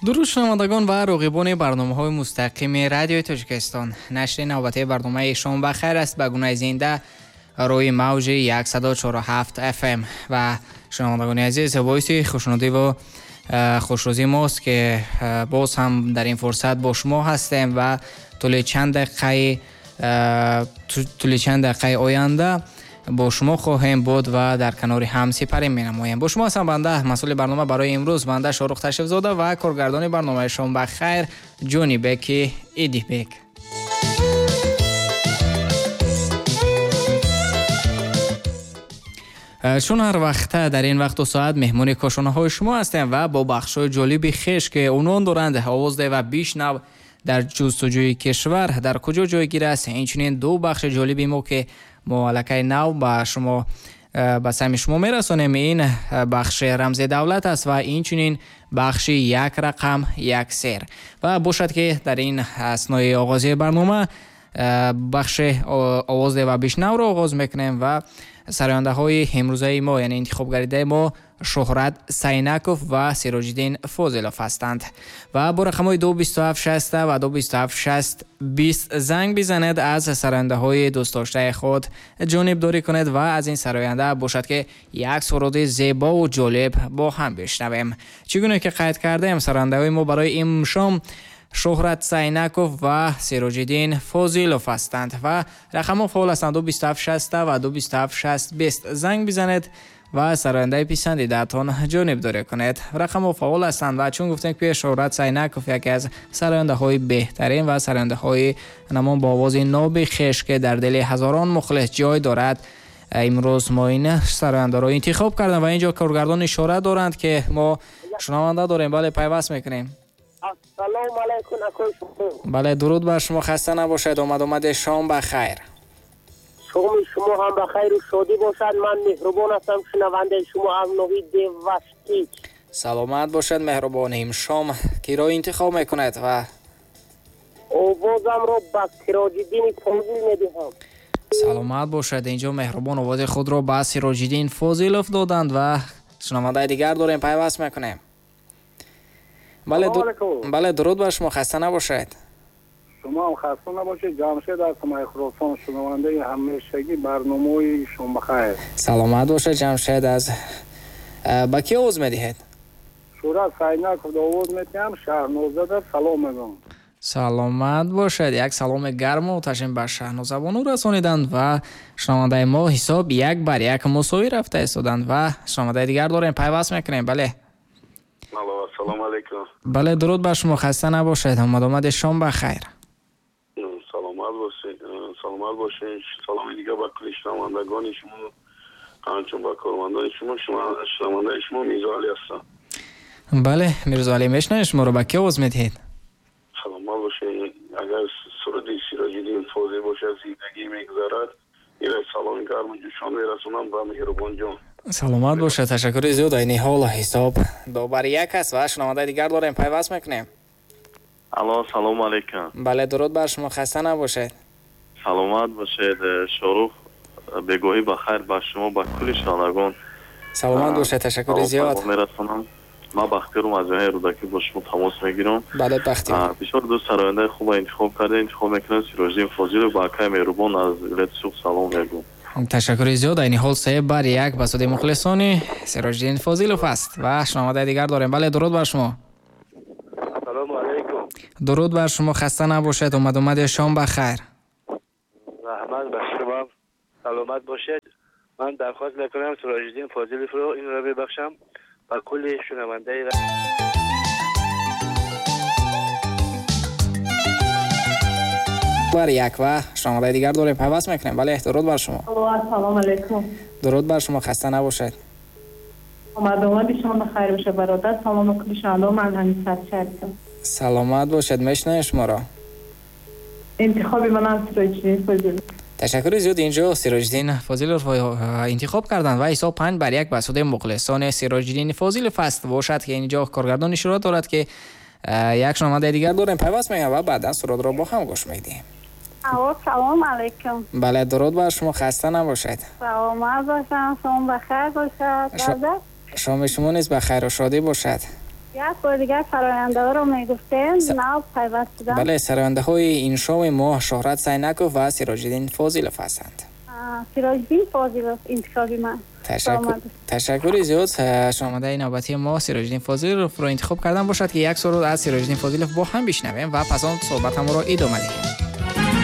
Дуруд шунавандагон ва роғибони барномаҳои мустақими радиои Тоҷикистон. Нашри навбатии барномаи «Шом ба хайр» аст ба гунаи зинда рӯи мавҷи 104.7 FM. Ва шунавандагони азиз, боиси хушнудӣ ва хушрӯзии мост, ки боз ҳам дар ин фурсат бо шумо ҳастем ва тӯли чанд дақиқаи оянда бо шумо хоҳем буд ва дар канори ҳам сипарӣ менамоем. Бо шумо ҳастам банда, масъули барнома барои имрӯз, банда Шоҳрух Ташрифзода ва коргардони барномаи «Шом ба хайр» Ҷонибеки Идибек. Чун ҳар вақта дар ин вақту соат меҳмони кошонаҳои шумо ҳастем ва бо бахшҳои ҷолиби хеш, ки унвон доранд «Овоз деҳ ва бишнав», «Дар ҷустуҷӯи кишвар дар куҷо ҷойгир аст», инчунин ду бахши ҷолиби мо, ки мо аллакай нав ба шумо ба самъи шумо мерасонем, ин бахши «Рамзи давлат» аст ва инчунин бахши «Як рақам як сер». Ва бошад, ки дар ин аснои оғози барнома бахши «Овоз деҳ ва бишнавро» оғоз мекунем ва сарояндаҳои имрӯзаи мо, яъне интихобгардидаи мо, Шӯҳрат Сайнаков ва Сироҷиддин Фозилов ҳастанд. Ва бо рақамҳои 227 60 ва 227 60 20 занг бизанед, аз сарояндаҳои дӯстдоштаи худ ҷонибдорӣ кунед ва аз ин сароянда бошад, ки як суруди зебову ҷолиб бо ҳам бишнавем. Чӣ гуна ки қайд кардем, сарояндаҳои мо барои имшом Шӯҳрат Сайнаков ва Сироҷиддин Фозилов ҳастанд ва рақамҳо фаъол ҳастанд: 227 60 ва 227 60 20. Занг бизанед ва сарояндаи писандидаатон ҷонибдорӣ кунед. Рақамҳо фаъол ҳастанд. Ва чун гуфтем, ки Шӯҳрат Сайнаков яке аз сарояндаҳои беҳтарин ва сарояндаҳои намон бо овози ноби хеш, ки дар дили ҳазорон мухлис ҷой дорад, имрӯз мо ин сарояндаро интихоб кардем. Ва инҷо коргардон ишора доранд, ки мо шунаванда дорем. Бале, пайваст мекунем. Ассалому алайкум, акои Шуҳрух. Бале, дуруд бар шумо, хаста набошед, омад-омади шом ба хайр. Шоми шумо ҳам ба хайру шодӣ бошад. Ман Меҳрубон ҳастам, шунавандаи шумо аз ноҳияи Деваштич. Саломат бошед, Меҳрубон. Имшом киро интихоб мекунед ва Овозамро ба Сироҷиддини Фозил медиҳам. Саломат бошад. Инҷо Меҳрубон овози худро ба Сироҷиддин Фозилов доданд ва шунавандаи дигар дорем, пайваст мекунем. Бале, бале, дуруд бар шумо, хаста набошед. Шумо ҳам хаста набошед. Ҷамшед аз Хуросон, шунавандаи ҳамешагӣ барномаи «Шомбахайр». Саломат бошед, Ҷамшед. Аз ба кӣ овоз медиҳед? Шӯҳрат Сайнаков овоз медиҳам, Шаҳнозада салом мегӯям. Саломат бошед. Як саломи гарму оташин ба Шаҳнозабону расониданд ва шунавандаи мо ҳисоб 1 бар 1 мусовӣ рафта истоданд. Ва шунавандаи дигар дорем, пайваст мекунем. Бале. Алло, ассалому алайкум. Бале, дуруд бар шумо, хаста набошед, омадомади шом ба хайр. Саломат бошед, саломат бошед. Саломи дигар ба кулли шунавандагони шумо, ҳамчун ба кормандони шумо. Шунавандаи шумо Мирзоалӣ ҳастам. Бале, Мирзоалӣ, мешунавем шуморо, ба кӣ овоз медиҳед? Саломат бошед. Агар суруди Сироҷиддин Фозил бошад, «Зиндагӣ мегузарад», ила саломи гарму ҷӯшон мерасонам ба Меҳрубонҷон. Саломат бошад, ташаккури зиёд. Айни ҳол ҳисоб 2 бар 1 аст ва шунавандаи дигар дорем, пайваст мекунем. Алло, салому алайкум. Бале, дуруд бар шумо, хаста набошед. Саломат бошед, Шоҳрух. Бегоҳӣ ба хайр ба шумо, ба кулли шунавандагон. Саломат бошед, ташаккури зиёд. Мерасонам. Ман Бахтиёрум, аз ҷоҳаи Рӯдакӣ бо шумо тамос мегирам. Бале, Бахтиёр. Бисёр ду сарояндаи хуба интихоб карда, интихоб мекунам Сироҷиддин Фозилов. Ба акаи Меҳрубон аз вилояти Суғд салом мегӯм. Ташаккури зиёд. Айни ҳол 3 бар 1 ба суди мухлисони Сироҷиддин Фозилов аст ва шунавандаи дигар дорем. Бале, дуруд бар шумо. Ассалому алайкум. Дуруд бар шумо, хаста набошед, омадомади шом ба хайр. Раҳмат ба шумо, саломат бошед. Ман дархост мекунам Сироҷиддин Фозиловро, инро мебахшам ба кулли шунавандаи. Бар як ва шунавандаи дигар дорем, пайваст мекунем. Бале, дуруд бар шумо. Ассалому алайкум. Дуруд бар шумо, хаста набошед. Омадомади шумо ба хайр боша, бародар. Салом ба кулли шунавандао, ман Аниса ҳастам. Саломат бошед, мешунавем шуморо. Интихоби манам Сироҷиддин Фозилов. Ташаккури зиёд. Инҷо Сироҷиддин Фозилов интихоб карданд ва ҳисоб 5 бар 1 ба суди мухлисони Сироҷиддин Фозилов аст. Бошад, ки инҷо коргардон ишора дорад, ки як шунавандаи дигар дорем, пайваст мекунем ва баъдан сурудро бо ҳам гӯш медиҳем. Алло, салом алайкум. Бале, дуруд бар шумо, хаста набошед. Саломат бошам, шом ба хайр бошад. Шоми шумо низ ба хайру шодӣ бошад. Як бор дигар сарояндаҳоро мегуфтем, нав пайваст шудам. Бале, сарояндаҳои ин шоми мо Шоҳрат Сайнаков ва Сироҷиддин Фозилов ҳастанд. Сироҷиддин Фозилов интихоби ман. Ташаккури зиёд. Шунавандаи навбатии мо Сироҷиддин Фозиловро интихоб кардан бошад, ки як суруд аз Сироҷиддин Фозилов бо ҳам бишнавем ва пас он суҳбатамонро идома диҳем.